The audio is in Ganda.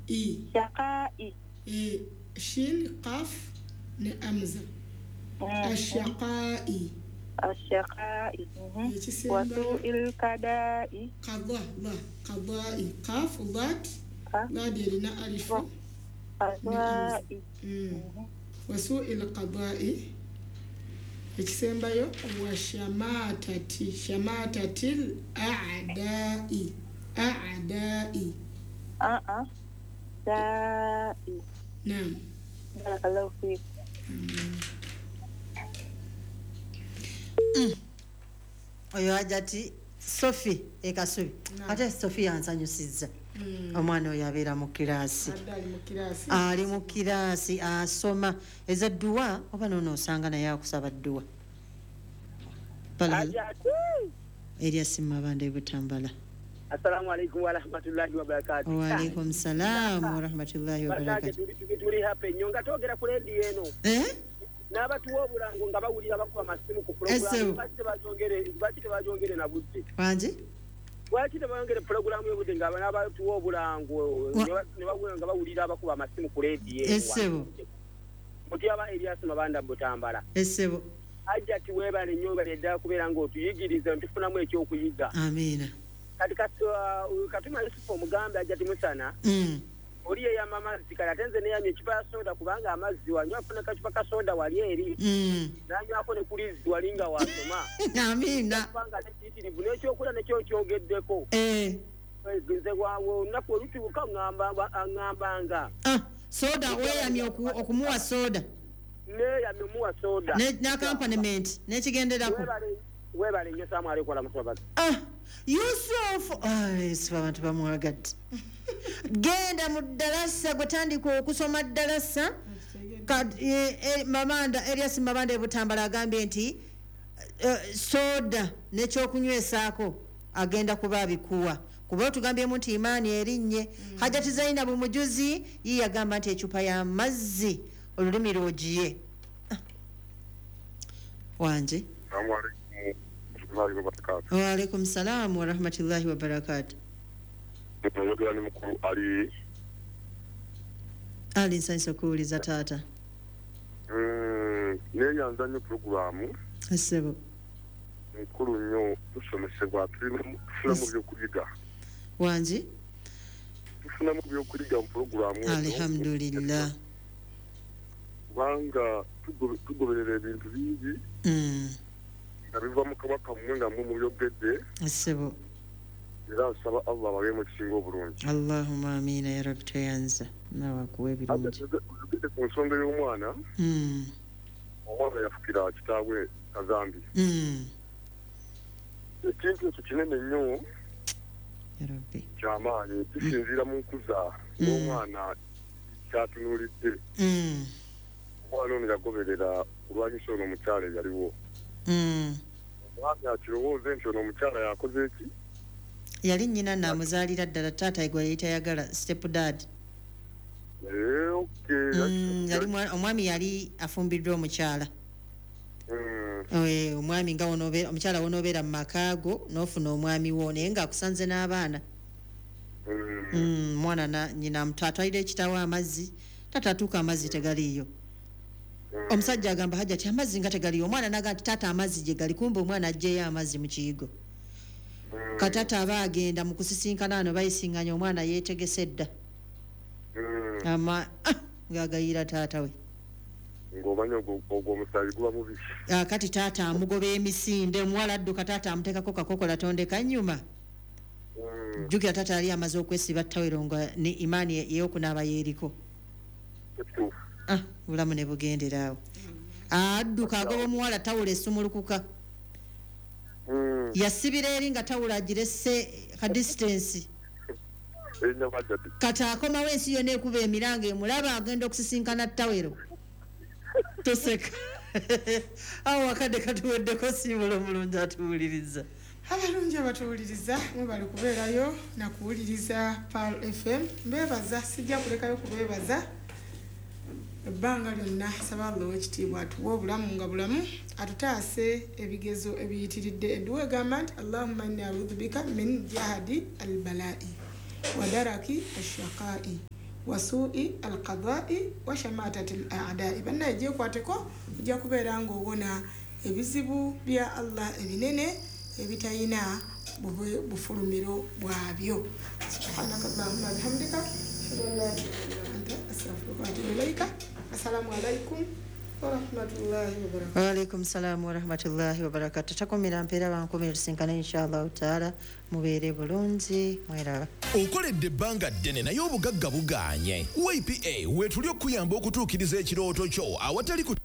I. Shaqai. E, shin, qaf ne amza. Ashaqai. Ashaqai. Ekisembayo. Wasuil kadai. Qada, la, qadai. Qaf, lat, lad erina alifu. Qadai. Wasui lqadai. Ekisembayo washamatati, shamatati a'dai, a'dai. A dai. Naam. Barakallahu fiik. Oyo Hajati Sophie Ekasubi. Ate Sophie yansanyusizza. Omwana oyo abeera mu kiraasi. Ali mu kiraasi asoma eza dduwa oba noono osanga naye akusaba dduwa. Erias Mabanda e Butambala. Assalamu alaikum wa rahmatullahi wa barakatuh. Wa alaikum salam wa rahmatullahi wa barakatuh. Tuli hapa nnyo nga twogera ku leediyo eno. N'abatuwa obulango nga bawulira bakuba amasimu ku pulogulaamu. Lwaki tebagyongere na budde? Wangi? Lwaki tebayongere pulogulaamu y'obudde nga n'abatuwa obulango ne bawulira abakuba amasimu ku leediyo eno? Essebo. Mutyaba Erias Mabanda Butambala. Essebo. Hajati weebale nnyo weebale ddala kubeera ng'otuyigiriza ntufunamu ekyokuyiga. Amiina. Kati Katuma Yusufu omugambe Hajati Musana. Oli yeyama amazzi kale ate nze neyamye ekipa ya soda kubanga amazzi wanywa afuna kacupa ka soda wali eri. Nanywako ne kulizzi wali nga wasoma. Amiina. Kubanga ate kiyitirivu n'ekyokulya nekyo kyogeddeko. Nze olunaku olutuuka ŋŋambanga. Soda weeyamye okumuwa soda. Neeyamye omuwa soda. N'accompaniment n'ekigenderako. Weebale nnyo Assalamu alaikum warahmatullahi wabarakatuh. Yusufu, Yusufu abantu bamwagadde. Genda mu ddalasa gwe tandika okusoma ddalasa. Mabanda Erias Mabanda e Butambala agambye nti soda n'ekyokunywesaako agenda kuba abikuwa. Kuba otugambyemu nti imaani erinnye. Hajati Zainabu Mujuzi ye yagamba nti ecupa y'amazzi olulimi lwogiye. Wanje. Wa alaikum salam wa rahmatullahi wa barakatuh. Ali. Ali nsanyusa okuwuliza taata. Neeyanza nnyo pulogulaamu. Essebo. Nkulu nnyo tusomesebwa tufunamu byokuyiga. Wangi? Tufunamu byokuyiga mu pulogulaamu eno. Alhamdulillah. Kubanga tugoberera ebintu bingi. Nga biva mu kabaka mmwe nga mmwe mubyogedde. Essebo. Era nsaba Allah abawe mu kisinga obulungi. Allahumma amiina ya Rabbi tweyanza nawe akuwe ebirungi. Oyogedde ku nsonga y'omwana. Omwana yafukira kitaabwe Kazambi. Ekintu ekyo kinene nnyo. Ya Rabbi. Kyamaanyi kisinziira mu nkuza y'omwana kyatunuulidde. Omwana ono yagoberera kulwanyisa ono omukyala eyaliwo. Omwami akirowooze nti ono omukyala yakoze eki? Yali nnyina naamuzaalira ddala taata gwe yali tayagala step dad. Okay. Omwami yali afumbiddwa omukyala. Omwami nga omukyala wonoobeera mu maka go n'ofuna omwami wo naye ng'akusanze n'abaana. Mwana nnyina atwalira ekitaawe amazzi, taata atuuka amazzi tegaliiyo. Omusajja agamba Hajati amazzi nga tegaliiyo, omwana n'agamba nti taata amazzi gye gali, kumbe omwana aggyeyo amazzi mu kiyigo. Katata aba agenda mu kusisinkana ano bayisinganya omwana yeetegese dda. Ama ng'agayira taata we. Ng'omanya ogwo omusaayi guba mubi. Kati taata amugoba emisinde, omuwala adduka taata amuteekako kakokola tondeka nnyuma. Jjukira taata yali amaze okwesiba ttawero nga ne imaani ey'okunaaba yeeriko. Bulamu ne bugendera awo. Adduka agoba omuwala tawulo esumulukuka. Yasibira eri nga tawulo agirese ka distance. Kati akomawo ensi yonna ekuba emiranga emulaba agenda okusisinkana ttawero. Toseka. Awo akadde katuweddeko siibula omulungi atuwuliriza. Abalungi abatuwuliriza mwebale kubeerayo na kuwuliriza Pearl FM. Mbeebaza, sijja kulekayo kubeebaza ebbanga lyonna. Nsaba Allah ow'ekitiibwa atuwe obulamu nga bulamu, atutaase ebigezo ebiyitiridde. Edduwa egamba nti Allahumma inni a'udhu bika min jahadi albalai wa daraki ashaqai Wa suui alqadai wa shamatati al adai. Bannaye, gyekwateko, ojja kubeera ng'owona ebizibu bya Allah ebinene ebitayina bufulumiro bwabyo. Subhanaka allahumma bihamdika, ashhadu an la ilaha illa anta, astaghfiruka wa atubu ilaika. Assalamu alaikum warahmatullahi wabarakatuh. Waalaikum salaamu warahmatullahi wabarakatu. Takumira mpeera, bankumira, tusinkane inshallahu taala. Mubeere bulungi, mweraba. Okoledde ebbanga ddene naye obugagga bugaanye. YPA weetuli okukuyamba okutuukiriza ekirooto kyo awatali ku